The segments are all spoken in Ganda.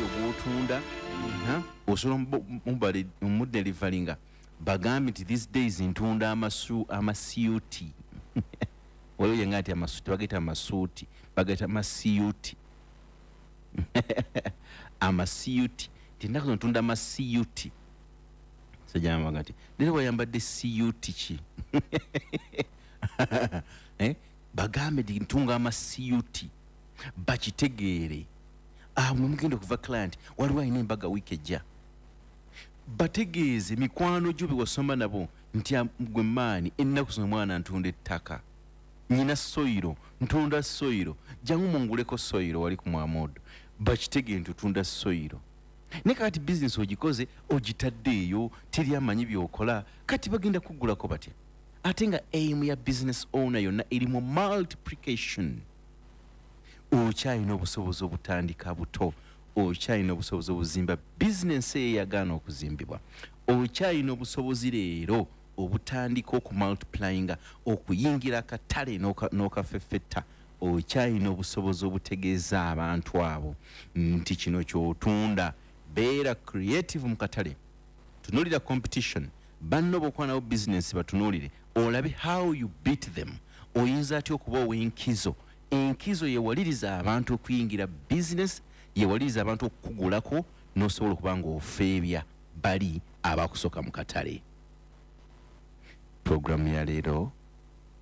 soyiro gwotunda. Osobola omudeliveringa, bagambe nti these days ntunda amasuuti. Waliwo yenga nti amasuuti bagaita amasuuti, bagaita amasiuti, amasiuti, nti ennaku zino ntunda amasiuti. Sajamaga nti leero wayambadde siuti ki? Eh? Bagambe nti ntunga amasiuti, bakitegeere. Awo mwe mugenda okuva client. Waliwo alina embaga wiiki ejja, bategeeze mikwano gyo bewasoma nabo nti, "Gwe maani, ennaku zino mwana ntunda ettaka, nyina soyiro, ntunda soyiro, jangu munguleko soyiro wali ku mwamodo." Bakitegeere nti otunda soyiro. Naye kakati bizinesi ogikoze, ogitadde eyo, teri amanyi byokola. Kati bagenda kugulako batya, ate nga aim ya business owner yonna eri mu multiplication? Okyalina obusobozi obutandika buto, okyalina obusobozi obuzimba bizinensi eyo eyagaana okuzimbibwa, okyalina obusobozi leero obutandika okumultiplyinga, okuyingira akatale n'okafeffetta. Okyalina obusobozi obutegeeza abantu abo nti kino kyotunda. Beera creative mu katale, tunuulira competition, banno bokuba nabo bizinensi batunuulire, olabe how you beat them. Oyinza atya okuba ow'enkizo? Enkizo yewaliriza abantu okuyingira bizinesi, yewaliriza abantu okukugulako, n'osobola okuba nga ofeebya bali abakusooka mu katale. Puroguramu ya leero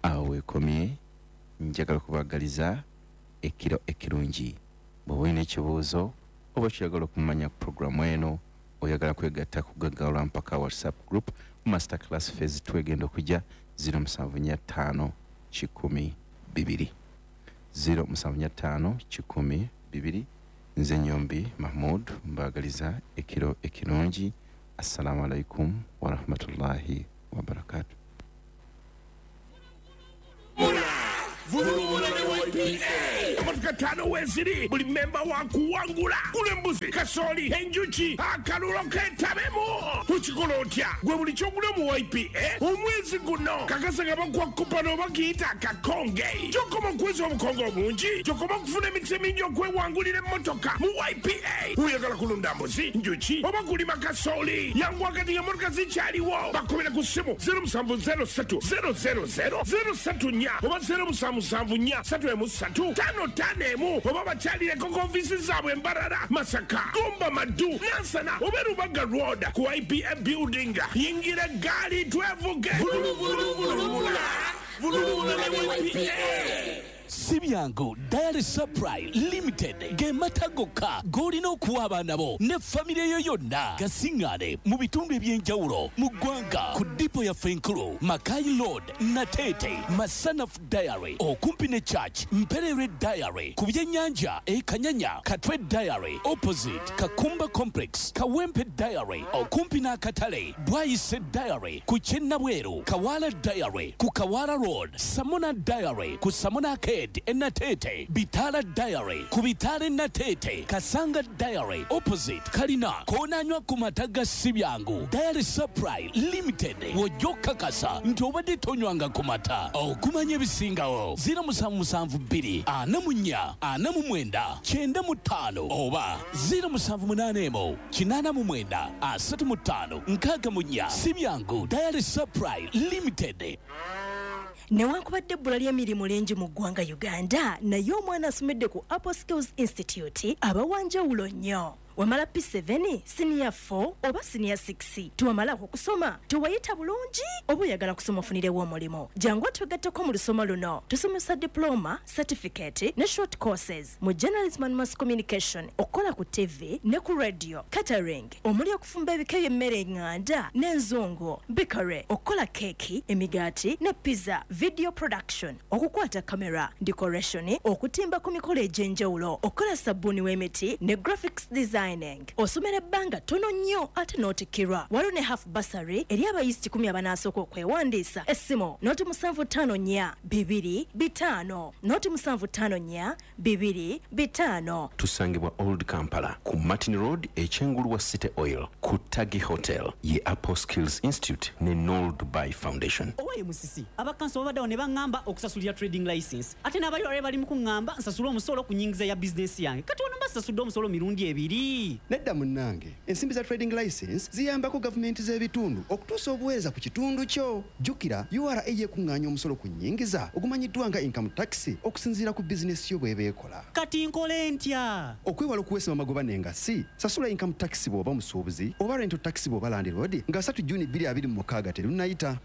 awo weekomye. Njagala kubagaliza ekiro ekirungi. Bw'oba olina ekibuuzo oba kyeyagala okumanya ku puroguramu eno, oyagala kwegatta ku Gaggawala Mpaka WhatsApp group, master class phase twegenda okujja, 0745 100 2, 0745 100 2. Nze Nyombi Mahmud, mbagaliza ekiro ekirungi. Assalamu alaikum warahmatullahi wabarakatu. Vulubula ne YPA. Emotoka ttaano weeziri, buli memba wa kuwangula. Gula embuzi, kasooli, enjuki, akalulo ketabemu. Ukikola otya gwe? Buli kyogula mu YPA omwezi guno, kakasa nga bakuwa coupon oba kiyita akakonge. Gyokoma okuweza obukonge obungi, gyokoma okufuna emikisa emingi okwewangulira emmotoka mu YPA. Oyagala kulunda mbuzi, njuki oba kulima kasooli? Yangu wakati ng'emmotoka zikyaliwo. Bakubira ku ssimu 0703 000 034 oba 0774 313 51 oba bakyalireko ku ofiisi zaabwe Embarara, Masaka, Gomba, Maddu, Nansana oba Rubaga Road ku IPA building. Yingira eggaali twevuge. Vuluvuluvulubula, vulubula ne YPA. Si byangu. Dairy Supply Limited ge mata gokka g'olina okuwa abaana bo ne famire yo yonna. Gasiŋŋaane mu bitundu eby'enjawulo mu ggwanga ku dipo yaffe enkulu, Mackay Road, Nateete, Masanafu Dairy okumpi ne Church, Mpererwe Dairy ku byennyanja e Kanyanya, Katwe Dairy opposite Kakumba Complex, Kawempe Dairy okumpi n'akatale, Bwaise Dairy ku ky'e Nabweru, Kawaala Dairy ku Kawaala Road, Samona Dairy ku Samona Arcade e Nateete, Bitaala Dairy ku Bitaala e Nateete, Kasanga Dairy opposite Kalina. Koonanywa ku mata ga Si Byangu Dairy Supply Limited, w'ojja okukakasa nti obadde tonywanga ku mata. Okumanya ebisingawo, 0772 44 49 95 oba 0781 89 35 64. Si Byangu Dairy Supply Limited. Newankubadde ebbula ly'emirimu lingi mu ggwanga Uganda, naye omwana asomedde ku Apple Skills Institute aba wanjawulo nnyo. Wamala P7, siniya 4 oba siniya 6, tewamalako kusoma, tewayita bulungi oba oyagala kusoma ofunirewo omulimu, jangu otwegatteko mu lusoma luno. Tusomesa diploma, certificate ne short courses mu journalism and mass communication, okukola ku TV ne ku radio, catering omuli okufumba ebika by'emmere eŋŋanda n'enzungu, bakery, okukola keeki, emigaati ne pizza, video production, okukwata kamera, decoration, okutimba ku mikolo egy'enjawulo, okukola sabbuuni w'emiti ne graphics designing. Osomera ebbanga ttono nnyo ate n'otikkirwa. Waliwo ne half bursary eri abayizi 100 abanaasooka okwewandiisa. Essimu 0754 2 5 0754 2 5. Tusangibwa Old Kampala ku Martin Road, ekyengulu wa City Oil, ku Tagi Hotel. Ye Apple Skills Institute ne Nol Dubai Foundation. Owaye Musisi, abakanso babaddewo ne baŋŋamba okusasulira trading license, ate n'abayolale bali mu kuŋŋamba nsasule omusolo ku nyingiza ya bizinensi yange. Kati wano mba Sasudde omusolo mirundi ebiri. Nedda munnange, ensimbi za trading license ziyambako gavumenti z'ebitundu okutuusa obuweereza ku kitundu kyo. Jjukira URA yekuŋŋaanya omusolo ku nnyingiza ogumanyiddwa nga income tax okusinziira ku bizinesi yo bw'eba ekola. Kati nkole ntya? Okwewala okuweesebwa amagoba n'engassi, sasula income tax bw'oba musuubuzi oba rental tax bw'oba landlord nga 3 Juni 2026 terunnayita.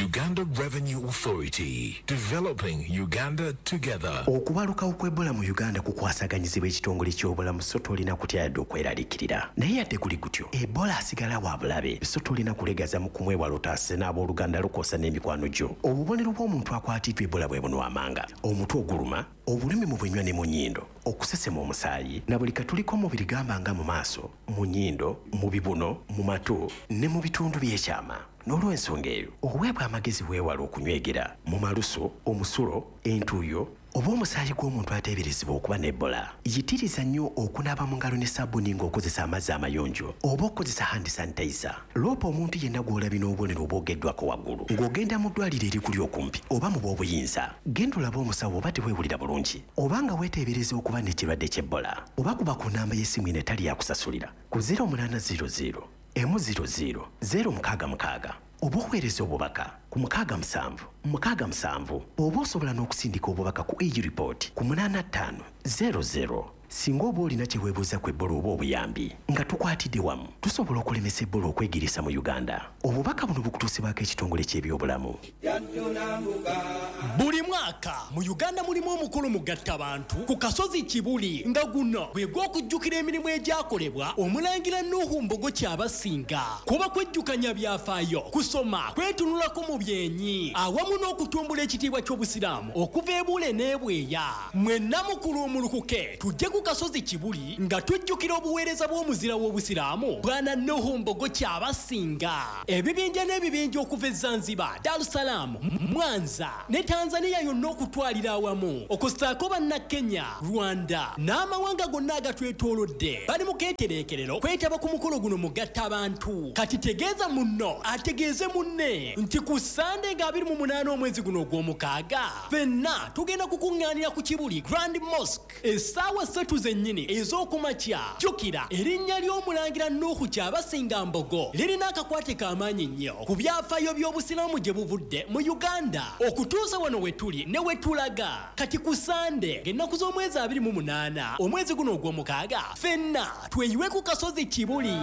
Uganda Revenue Authority, developing Uganda together. Okubalukawo kw'Ebola mu Uganda kukwasaganyizibwa ekitongole ky'obulamu, so tolina kutya yadde okweraliikirira. Naye yadde guli gutyo, Ebola asigala wa bulabe, so tolina kulegaza mu kumwewala otaase n'abooluganda lwo kw'ossa n'emikwano gyo. Obubonero bw'omuntu akwatiddwa Ebola bwe buno amanga: omutwe oguluma, obulumi mu bunywa ne mu nnyindo, okusesema omusaayi na buli katuli k'omubiri, gamba nga mu maaso, mu nnyindo, mu bibuno, mu matu ne mu bitundu by'ekyama. N'olw'ensonga eyo, oweebwa amagezi weewala okunywegera mu malusu, omusulo, entuuyo oba omusaayi gw'omuntu ateeberezebwa okuba n'Ebola. Yitiriza nnyo okunaaba mu ngalo ne sabbuuni ng'okozesa amazzi amayonjo oba okukozesa hand sanitizer. Loopa omuntu yenna gw'olabye n'obubonero obwogeddwako waggulu ng'ogenda mu ddwaliro erikuli okumpi oba mu b'obuyinza. Genda olabe omusawo oba teweewulira bulungi oba nga weeteebereza okuba n'ekirwadde ky'Ebola, oba kuba ku namba y'essimu eno etali yakusasulira ku 0800 100 066 oba oweereza obubaka ku 6767, oba osobola n'okusindika obubaka ku e-report ku 8500 singa oba olina kye weebuuza ku Ebola oba obuyambi. Nga tukwatidde wamu, tusobola okulemesa Ebola okwegiriisa mu Uganda. Obubaka buno bukutuusibwako ekitongole ky'ebyobulamu. Buli mwaka mu Uganda mulimu omukolo mugatta bantu ku kasozi Kibuli, nga guno gwe gw'okujjukira emirimu egyakolebwa Omulangira Nuhu Mbogo Kyabasinga. Kuba kwejjukanya byafaayo, kusoma, kwetunulako mu byenyi awamu n'okutumbula ekitiibwa ky'Obusiraamu okuva ebuule n'ebweya. Mwenna mukulu omulukuke tujje ku kasozi Kibuli nga tujjukira obuweereza bw'omuzira w'Obusiraamu Bwana Nuhu Mbogo Kyabasinga. Ebibinja n'ebibinja okuva e Zanzibar, Dar es Salaam, Mwanza ne Tanzania yonna okutwalira awamu, okussaako Bannakenya, Rwanda n'amawanga gonna agatwetoolodde, bali mu keetereekerero kwetaba ku mukolo guno mugatta abantu. Kati tegeeza munno ategeeze munne nti ku Sande nga 28 omwezi guno ogw'omukaaga, ffenna tugenda kukuŋŋaanira ku Kibuli Grand Mosque essaawa 3 zennyini ez'okumakya. Jjukira erinnya ly'Omulangira Nuuhu Kyabasinga Mbogo lirina akakwate k'amaanyi nnyo ku byafaayo by'Obusiraamu gye buvudde mu Uganda okutuusa wano we tuli ne we tulaga. Kati ku Sande ng'ennaku z'omwezi 28 omwezi guno ogw'omukaaga, ffenna tweyiwe ku kasozi Kibuli.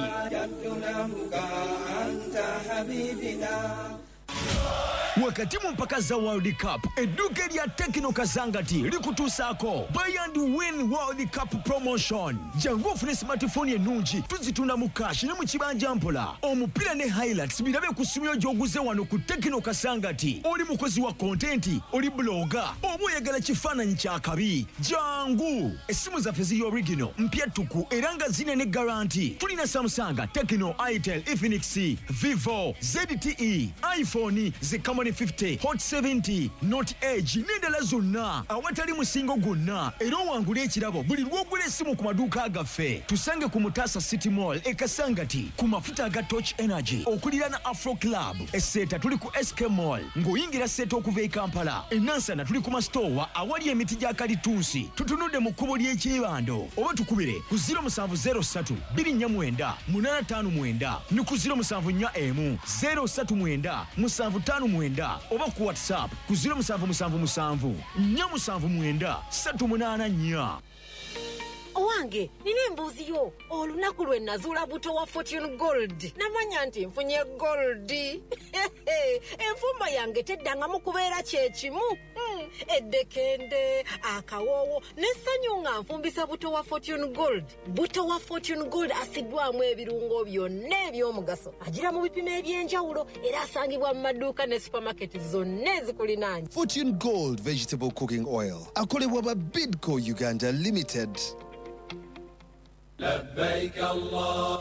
Wakati mu mpaka za World Cup, edduuka erya Tecno Kasangati likutuusaako Buy and Win World Cup promotion. Jangu ofune smartphone ennungi, tuzitunda mu cash ne mu kibanja mpola. Omupiira ne highlights birabe ku ssimu yo gy'oguze wano ku Tecno Kasangati. Oli mukozi wa content, oli blogger oba oyagala kifaananyi kya kabi, jangu. Essimu zaffe ziri original, mpya ttuku era nga zine ne guarantee. Tulina Samsung, Tecno, Itel, Infinix, Vivo, ZTE, iPhone, ze Camon 50, Hot 70, Note Edge n'endala zonna awatali musingo gwonna, era owangula ekirabo buli lw'ogula essimu ku maduuka gaffe. Tusange ku Mutasa City Mall e Kasangati ku mafuta aga Torch Energy okuliraana Afro Club. Eseeta tuli ku SK Mall ng'oyingira Seeta okuva e Kampala. Enansana tuli ku masitoowa awali emiti gya kalitunsi, tutunudde mu kkubo ly'ekyebando, oba tukubire ku 0703 249 859 ne ku 0741 039 759, oba ku WhatsApp ku 0777 479 384. Owange, nina embuuzi yo. Olunaku lwe nazuula buto wa Fortune Gold, namanya nti nfunye gold. Enfumba yange teddangamu kubeera kyekimu. Eddekende, akawoowo n'essanyu nga nfumbisa buto wa Fortune Gold. Buto wa Fortune Gold asiddwamu ebirungo byonna eby'omugaso, agira mu bipimo eby'enjawulo era asangibwa mu maduuka ne supamaketi zonna ezikulinaanye. Fortune Gold Vegetable Cooking Oil akolebwa ba Bidco Uganda Limited.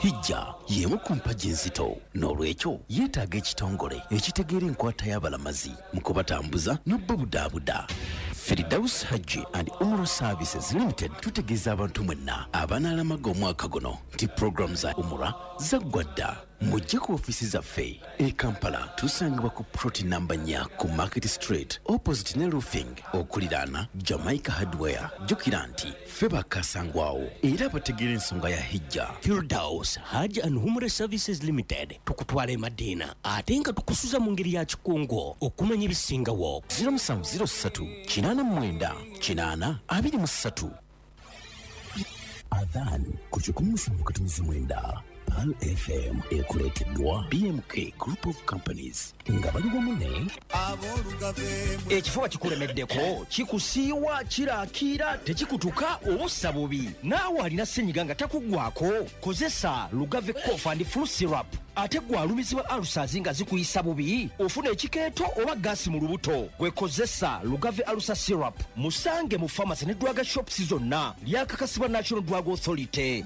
Hijja y'emu ku mpagi enzito, n'olwekyo yeetaaga ekitongole ekitegeera enkwata y'abalamazi mu kubatambuza n'obubudaabuda. Firdaus Hajji and Umrah Services Limited tutegeeza abantu mwenna abanaalamaga omwaka guno nti puroguramu za umura zaggwa dda. Mujje ku ofiisi zaffe e Kampala, tusangibwa ku plot namba 4 ku Market Street, opposite ne Roofing, okuliraana Jamaica Hardware. Jjukira nti ffe bakasangwawo era bategeera ensonga ya hijja. Firdaus Hajj and Umrah Services Limited, tukutwala e Madiina ate nga tukusuza mu ngeri ya kikungu. Okumanya ebisingawo, 0703 89 80 23. Adhan ku 107.9 Pearl FM ekuleeteddwa BMK Group of Companies nga bali wamu ne Ekifuba kikulemeddeko, kikusiiwa, kiraakiira, tekikutuka, obussa bubi. Naawe alina ssenyiga nga takuggwako, kozesa Lugave Cough and Flu Syrup. Ate gwe alumizibwa ulcers nga zikuyisa bubi, ofuna ekikeeto oba gaasi mu lubuto, gwe kozesa Lugave Ulcer Syrup. Musange mu pharmacy ne drug shops zonna. Lyakakasibwa National Drug Authority.